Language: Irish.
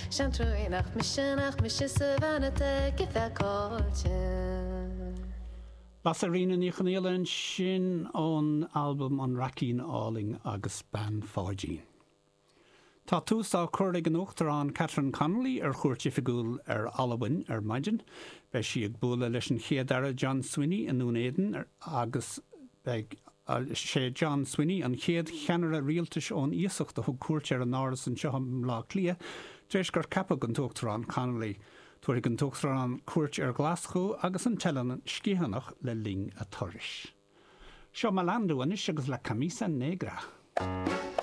Seantrúí nach mise, nach mise sa bhean atá aici feiceáilte. Lasairfhíona Ní Chonghaile ansin ón albam An Raicín Álainn agus Bean Pháidín. Tá tús á cur ag an Uachtarán Catherine Connolly ar chuairt oifigiúil ar Albain ar maidin. Beidh sí ag bualadh leis an Chéad-Aire John Swinney i nDún Éideann agus beidh sé John Swinney an chéad cheannaire rialtais ón iasacht a thug cuairt ar an Áras anseo i mBleá Cliath tar éis gur ceapadh an tUachtarán Connolly. Tabharfaidh an tUachtarán cuairt ar Ghlaschú agus an tEileán Sgitheanach le linn a turais. Seo Malandú anois agus La Camisa Negra.